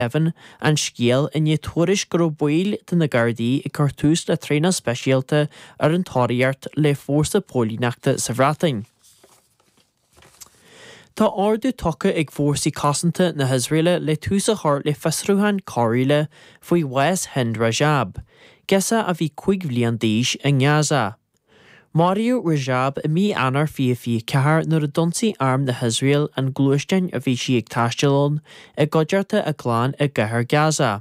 Deimhin an scéal i ndiaidh tuairisc go raibh baill de na Gardaí ag cur tús le traenáil speisialta ar an tóraíocht le fórsa póilíneachta sa Bhreatain. Tá ordú tugtha ag Fórsaí Cosanta na hIosraeile le tús a chur le fiosrúchán coiriúla faoi bhás Hind Rajab, girseach a bhí 5 bhliain d'aois i nGaza. Maraíodh Rajab i mí Eanáir 2024 nuair a d'ionsaigh arm na hIosrael an gluaisteán a bhí sí ag taisteal ann i gcuideachta a clann i gcathair Gaza.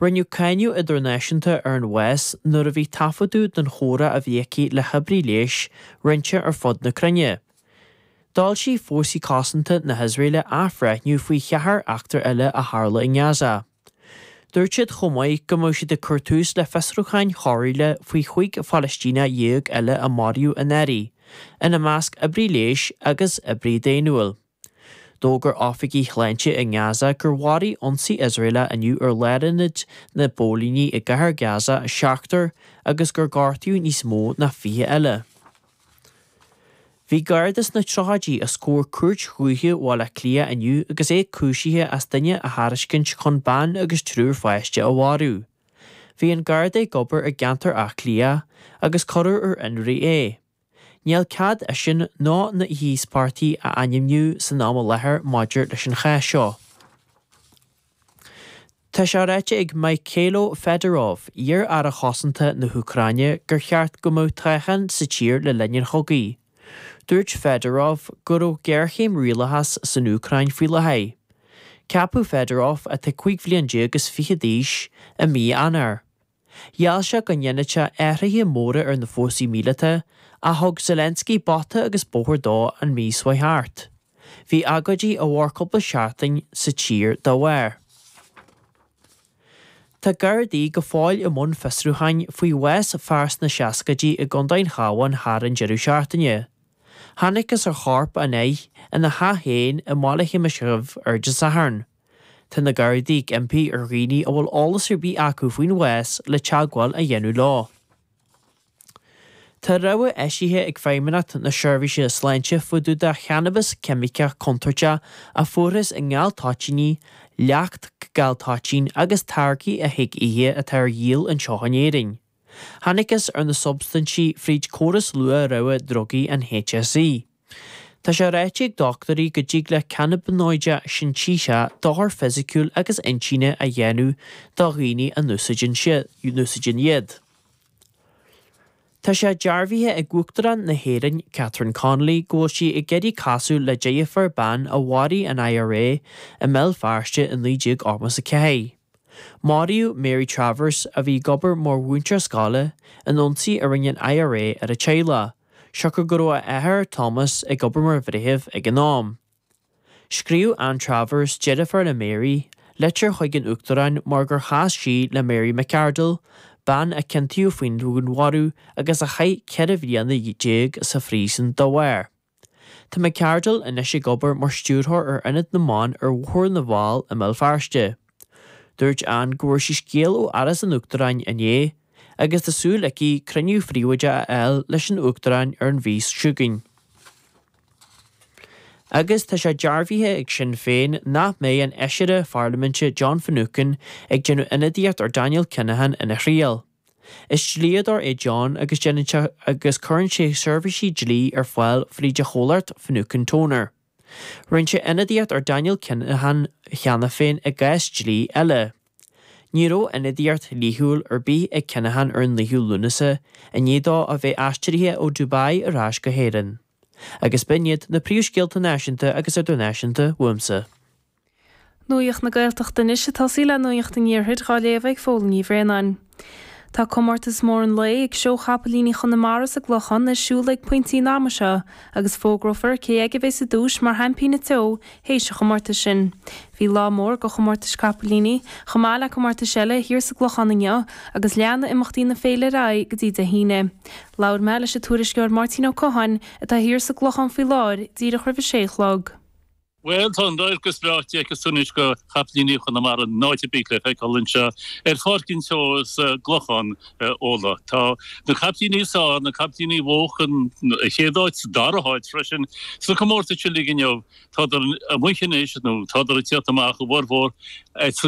Rinneadh cáineadh idirnáisiúnta ar an bhás nuair a bhí taifeadadh den chomhrá a bhí aici le hoibrí leighis roinnte ar fud na cruinne. D'fhoilsigh Fórsaí Cosanta na hIosraeile athbhreithniú faoi cheathair eachtra eile a tharla i nGaza. Dúirt siad chomh maith go mbeadh siad ag cur tús le fiosrúcháin choiriúla faoi 15 Phalaistíneach eile a maraíodh anuraidh, ina measc oibrí leighis agus oibrí daonnúil. D'fhógair oifigigh shláinte i nGaza gur mharaigh ionsaí Iosraelach inniu ar lárionad na bpóilíní i gcathair Gaza seachtar agus gur gortaíodh níos mó ná 20 eile. Bhí Garda sna tríochaidí os comhair Cúirt Dhúiche Bhaile Átha Cliath inniu agus é cúisithe as duine a thairiscint chun bean agus triúr pháiste a mharú. Bhí an Garda ag obair i gceantar Átha Cliath agus cuireadh ar fhionraí é. Níl cead eisean ná na híospartaigh a ainmniú san am i láthair maidir leis an chás seo. Tá sé ráite ag Mykhailo Fedorov, iar-aire cosanta na hÚcráine, gur cheart go mbeadh toghchán sa tír le linn an chogaidh. Dúirt Fedorov go raibh géarchéim rialachais san Úcráin faoi láthair. Ceapadh Fedorov, atá 15 bhliain is fiche d'aois, i mí Eanáir. Gheall sé go ndéanfadh sé athruithe móra ar na fórsaí míleata, ach thug Zelensky bata agus bóthar dó an mhí seo thart. Bhí agóidí a mhair cúpla seachtain sa tír dá bharr. Tá Gardaí go fóill i mbun fiosrúcháin faoi bhás fear sna seascaidí i gContae an Chabháin thar an deireadh seachtaine. Thángthas ar chorp an fhir ina theach féin i mBaile Shéamais Dhuibh ar Dé Sathairn. Tá na Gardaí ag impí ar dhaoine a bhfuil eolas ar bith acu faoin bhás le teagmháil a dhéanamh leo. Tá rabhadh eisithe ag Feidhmeannacht na Seirbhíse Sláinte fá dtaobh de channabas ceimiceach contúirteach a fuarthas i ngal-toitíní, leacht gal-toitín agus táirgí a thig ithe atá ar dhíol anseo in Éirinn. Thángthas ar na substaintí fríd córas luath-rabhadh drugaí an HSE. Tá sé ráite ag dochtúirí go dtig le cannabinóide sintéiseach dochar fisiciúil agus intinne a dhéanamh do dhaoine a n-úsáideann iad. Tá sé dearbhaithe ag Uachtarán na hÉireann, Catherine Connolly, go bhfuil sí ag iarraidh casadh le deirfiúr bean a mharaigh an IRA i mBéal Feirste i 1984. Maraíodh Mary Travers, a bhí ag obair mar mhúinteoir scoile, in ionsaí a rinne an IRA ar a teaghlach, siocair go raibh a athair, Thomas, ag obair mar bhreitheamh ag an am. Scríobh Anne Travers, deirfiúr le Mary, litir chuig an Uachtarán mar gur chas sí le Mary McArdle, bean a ciontaíodh faoin dúnmharú agus a chaith 14 bhliana sa phríosún dá bharr. Tá McArdle anois ag obair mar stiúrthóir ar Ionad na mBan ar Bhóthar na bhFál i mBéal Feirste. Dúirt Anne go bhfuair sí scéal ó Áras an Uachtaráin inné agus tá súil aici cruinniú phríobháideach a fháil leis an Uachtarán ar an mhí seo chugainn. Agus tá sé dearbhaithe ag Sinn Féin nach mbeidh an Fheisire Pharlaiminte John Finucane ag déanamh ionadaíocht ar Daniel Kinahan ina thriail. Is dlíodóir é John agus déanann sé agus cuireann sé seirbhísí dlí ar fáil fríd a chomhlacht Finucane Toner. Rinne sé ionadaíocht ar Daniel Kinahan cheana féin i gcás dlí eile. Ní raibh ionadaíocht dhlíthiúil ar bith ag Kinahan ar an 9ú Lúnasa i ndiaidh dó a bheith aistrithe ó Dubai ar ais go hÉirinn. Agus b'in iad na príomhscéalta náisiúnta agus idirnáisiúnta uaimse. Nuacht na Gaeltachta anois ag tosaí le Nuacht an Iarthair dhá léamh ag Fódhla Ní Bhraonáin. Tá comórtas mór an lae ag Seó Chapaillíní Chonamara sa gClochán ar siúl ag pointí an ama seo agus fógrófar cé aige a bheas sa duais mar Sheaimpín an tSeó théis an chomórtais sin. Bhí lá mór go chomórtais capaillíní, chomh maith le comórtais eile, thiar sa gClochán inniu agus leanfaidh imeachtaí na féile ar aghaidh go dtí Dé hAoine. Labhair mé leis an tuairisceoir Máirtín Ó Catháin atá thiar sa gClochán faoi láthair díreach roimh a sé a chlog. Bhuel, tá an radharc is breá d'fheicfeas tú anois go chapaillíní Chonamara in áit ar bith le feiceáil anseo ar Pháirc an tSeó sa gClochán, Fhódhla. Tá na capaillíní is fearr, na capaillíní a bhuaigh an chéad áit, sa dara háit freisin, sna comórtais uilig inniu, tádar amuigh anois, nó tádar ag tíocht amach, a bhformhór, san.